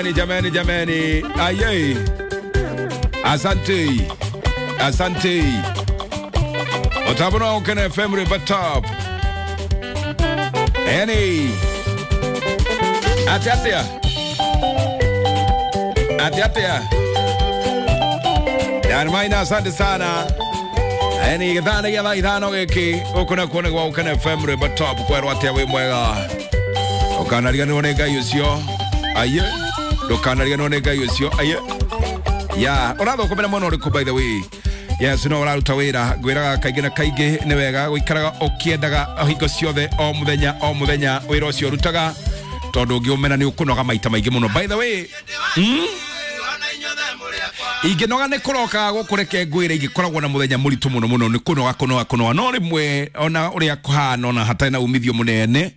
Jameni, jameni, jameni, aye, asante, asante. Otabona Ukene FM River Top. Eni atia atia atia atia Maina, asante sana. Eni githana gĩa thaa 5 gĩkĩ gũkũ nakuo nĩ gwa Ukene FM River Top kwerwo atĩa wĩ mwega. Ũkanariganĩrwo nĩ Ngai ũcio aye, ndũkanariganĩrwo nĩ Ngai ũcio aye. Ya ũrathũkũmĩra mwena ũrĩkũ by the way? Yes, no ũraruta wĩra ngwĩraga kaingĩ na kaingĩ nĩ wega gũikaraga ũkĩendaga hingo ciothe o mũthenya o mũthenya wĩra ũcio ũrutaga tondũ ũngĩũmena nĩ ũkũnoga maita maingĩ mũno by the way. Ingĩnoga nĩ kũrokaga gũkũ reke ngwĩre ingĩkoragwo na mũthenya mũritũ mũno mũno nĩ kũnoga kũnoga kũnoga no rĩmwe ona ũrĩa kũhana ona hatarĩ na umithio mũnene.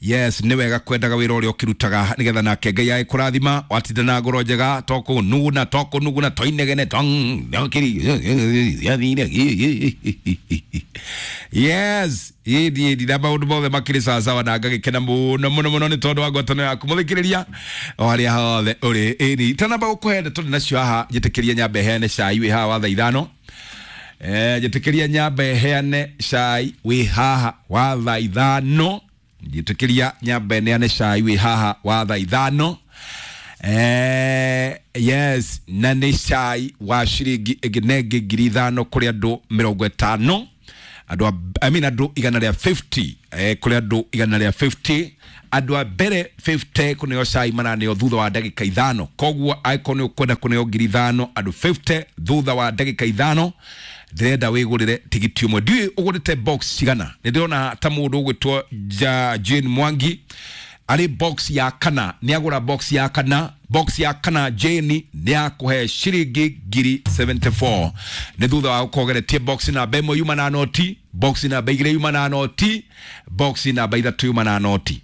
Yes, nĩ wega kwendaga wĩra ũrĩa ũkĩrutaga nĩgetha nake Ngai agĩkũrathima watinda na ngoro njega to kũnuguna to kũnuguna to inegene to yes ĩndi ĩndi na maũndũ mothe makĩrĩ sawasawa na ngagĩkena mũno mũno mũno nĩ tondũ wa ngwatanĩro yaku mũthikĩrĩria o harĩa hothe ũrĩ. Ĩni itanamba gũkũhe ndeto ndĩ nacio haha njĩtĩkĩria nyambe heane cai wĩ haha wa thaa 5. Njĩtĩkĩria nyambe heane cai wĩ haha wa thaa 5. Njĩtĩkĩria nyambe neane cai wĩ haha wa thaa 5. Yes, na nĩ cai wa ciringi ĩngĩ na ĩngĩ 5,000 kũrĩ andũ 50 andũ I mean andũ 150 kũrĩ andũ 150 andũ a mbere 50 kũneo cai maraneo thutha wa ndagĩka 5. Koguo angĩkorwo nĩ ũkwenda kũneo 5,000 andũ 50 thutha wa ndagĩka 5 ndĩrenda wĩgũrĩre tigiti ũmwe. Ndiũĩ ũgũrĩte box cigana, nĩ ndĩrona ta mũndũ ũgwĩtwo Jane Mwangi arĩ box ya kana, nĩ agũra box ya kana. Box ya kana Jane nĩ akũhe ciringi 74 nĩ thutha wa gũkorwo box namba 1 yuma na noti, box namba 2 yuma na noti, box namba 3 yuma na noti.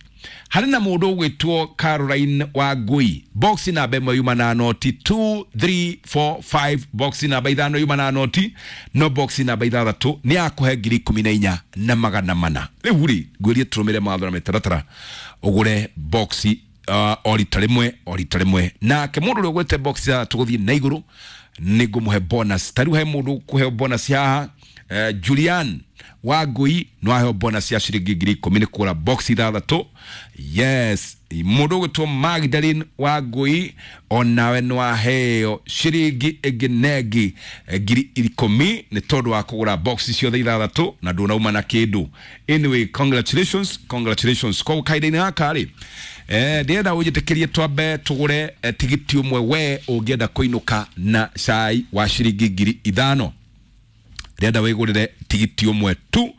Harĩ na mũndũ ũgwĩtwo Caroline Wangui, box namba 1 yuma na noti 2 3 4 5, box namba 5 yuma na noti, no box namba 6 nĩ akũhe 14,400 na magana mana. Rĩu rĩ ngwĩrie tũrũmĩre mawatho na mĩtaratara ũgũre box o rita rĩmwe o rita rĩmwe. Nake mũndũ ũrĩa ũgwĩte box ithathatũ gũthiĩ na igũrũ nĩ ngũmũhe bonus. Ta rĩu he mũndũ ũkũheo bonus haha, Julian Wangui no aheo bonus ya ciringi 10,000 nĩ kũgũra box 6. Yes, mũndũ ũgwĩtwo Magdalene Wangui onawe no aheo ciringi ĩngĩ na ĩngĩ 10,000 nĩ tondũ wa kũgũra box ciothe 6 na ndũnauma na kĩndũ. Anyway, congratulations, congratulations. Koguo kahinda-inĩ gaka rĩ ndĩrenda ũnjĩtĩkĩrie twambe tũgũre tigiti ũmwe we ũngĩenda kũinũka na cai wa ciringi 5,000. Ndĩrenda wĩgũrĩre tigiti ũmwe tu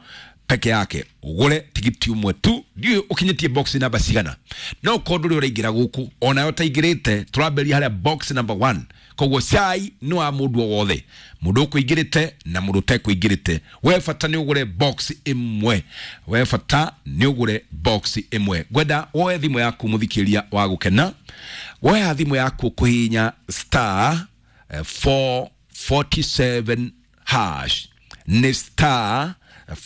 peke yake, ũgũre tigiti ũmwe tu. Ndiũĩ ũkinyĩtie box namba cigana, no ũkorwo ndũrĩ ũraingĩra gũkũ onawe ũtaingĩrĩte tũrambĩrĩria harĩa box number 1. Koguo cai nĩ wa mũndũ o wothe, mũndũ ũkũingĩrĩte na mũndũ ũtekũingĩrĩte. We bata nĩ ũgũre box ĩmwe, we bata nĩ ũgũre box ĩmwe. Ngwenda woe thimũ yaku mũthikĩria wa gũkena, woya thimũ yaku kũhihinya star 447 hash, nĩ star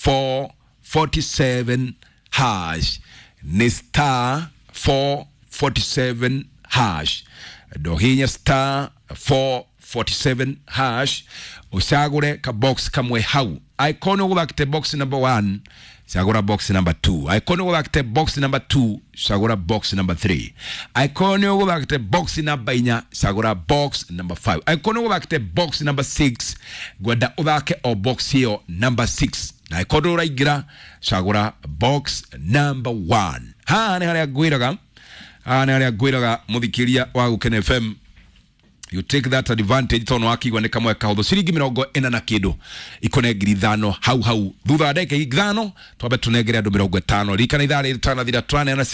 447 hash, nĩ star 447 hash. Ndohinya star 447 hash ucagũre ka box kamwe hau. Angĩkorwo nĩ ũgũthakĩte box number 1 cagũra box number 2, angĩkorwo nĩ ũgũthakĩte box number 2 cagũra box number 3, angĩkorwo nĩ ũgũthakĩte box number 4 cagũra box number 5, angĩkorwo nĩ ũgũthakĩte box number 6 ngwenda ũthake o box ĩyo number 6, na angĩkorwo ndũraingĩra cagũra box number 1. Haha nĩ harĩa ngwĩraga, haha nĩ harĩa ngwĩraga mũthikĩria wa Gũkena FM, you take that advantage tondũ wakigua nĩ kamwe kahũthũ ciringi 40 na kĩndũ ikũne 5,000 hau hau. Thutha wa ndagĩka 5 twambe tũnengere andũ 50. Ririkana ithaa rĩrĩ tanathira tũraneana